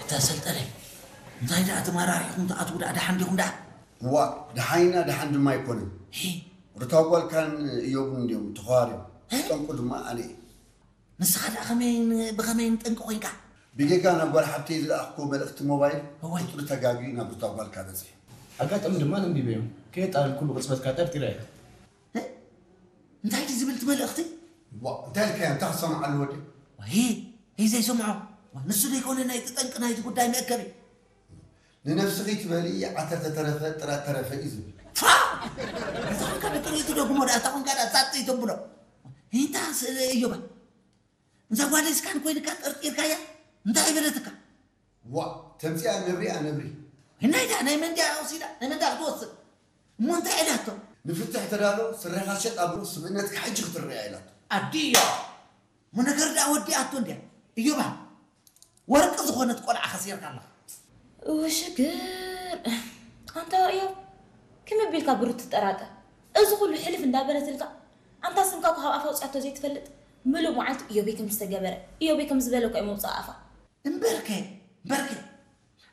እታ ሰልጠነ እንታይ ደኣ ተመራሪሕኩም ትኣትዉ ደኣ ደሓን ዲኹም ደኣ? እዋ፣ ደሓን ኢና ደሓን ድማ ኣይኮነን። ሂ። ሩታ ጓልካን እዮብን እንዲዮም ተኸዋርዮም። እ? ጠንቁ ድማ ኣነ እየ። ንስኻ ደኣ ከመይን ብኸመይን ጠንቂ ኮይንካ? ብጌጋ ናብ ጓል ሓብተይ ዝለኣኽኩዎ መልእኽቲ ሞባይል እወ። ቁፅሪ ተጋግዩ ናብ ሩታ ጓልካ በፂሑ። ኣጋጣሚ ድማ ኣንቢበዮ። ከየጣለልኩሉ ቅፅበት ከዓ ጠርጢረ እየ። እ? እንታይ ድዩ ዝብል እቲ መልእኽቲ? ዋ፣ እንታይ ኢልካዮ? እንታይ ክሰምዓሉ ወዲ? ዋይ፣ ሂ ዘይሰምዖ። ዋ፣ ንሱ ዘይኮነ ናይቲ ጠንቂ ናይቲ ጉዳይ መእከቢ። ንነብስኺ ትበሊ ዓተር ተተረፈ ጥራት ተረፈ እዩ ዝብል። ፋ! እንታይ ኮንካ ብጥሪቱ ደግሞ ደኣ፣ እንታይ ኮንካ ደኣ ሳጥ ይተብሎ? እንታይ ስ-፣ እዮባ? እዛ ጓል እስካን ኮይንካ ጠርጢርካያ? እንታይ ይበለትካ? ዋ፣ ተምፅያ ነብሪ ኣነብሪ። ናይ ዳ-፣ ናይ መን ድያ ወሲዳ? ናይ መን ድያ ክትወስድ? እሞ እንታይ ኢላቶ? ንፍትሕ ተዳሎ፣ ስረኻ ሸጥ ኣብሎ፣ ስብእነትካ ሕጂ ክትረኣ ኢላቶ። ኣዲዮ! እሞ ነገር ደኣ ወዲኣቶ እንድያ። እዮባ፣ ወርቂ ዝኾነት ቆልዓ ከሲርካ ኣለኻ። እው ሽግር። ኣንታ እዮብ፣ ከመይ ኣቢልካ ብሩት ትጠራጠር? እዚ ኩሉ ሕልፍ እንዳበለትልካ፣ ኣንታ ስምካ እኮ ካብ ኣፋ ኣውፂኣቶ ዘይትፈልጥ? ምሉእ መዓልቲ እዮበይ ከም ዝተገበረ፣ እዮበይ ከም ዝበለ እኮ እዩ መውፅኢ ኣፋ። እምበርከ፣ እምበርከ፣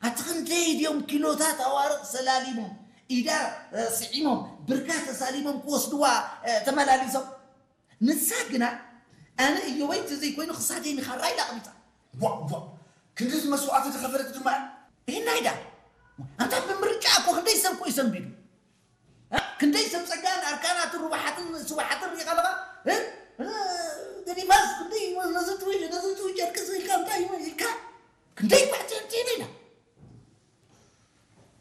ኣቲ ክንደይ ድዮም ኪሎታት ኣዋርቕ ሰላሊሞም፣ ኢዳ፣ እ፣ ስዒሞም፣ ብርካ ተሳሊሞም ክወስድዋ፣ እ፣ ተመላሊሶም። ንሳ ግና፣ ኣነ እዮበይ እንተዘይኮይኑ ክሳደይ ንኻራ ኢላ ኣቕቢጻ። ቧ፣ ቧ፣ ክንድዚ መስዋእቲ ዝኸፈለት ድማ እያ። ይህና ኢዳ። ኣንታ ብምርጫ እኮ ክንደይ ሰብ እኮ እዩ ሰንቢዱ። እ? ክንደይ ሰብ ጸጋን ኣርካናትን ሩባሓትን ስዋሓትን ርኢኻ ኣለኻ? እ? እ፣ ገዲፋስ ክንደይ ነዚ ትውይ፣ ነዚ ትውይ ጨርቂ ስኢልካ እንታይ ኢልካ? ክንደይ ባሕቲ እንትን ኢላ።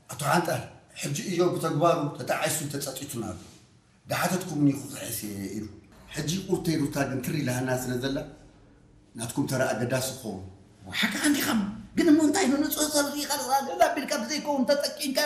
ኣቶ ሓንጣል፣ ሕጂ እዮብ ብተግባሩ ተጣዒሱን ተጸጺቱን ኣሎ። ድሓተትኩምኒ ክኽሕስ እየ ኢሉ። ሕጂ ቁርተይ ሩታ ግን ትር ኢላሃና ስለ ዘላ፣ ናትኩም ተራ ኣገዳሲ ክኸውን። ሓቂ እንዲኻም፣ ግን እሞ እንታይ ንንጹህ ሰብ ርኢኻ ልቕራብ ኣቢልካ ብዘይከውን ተጠቂምካ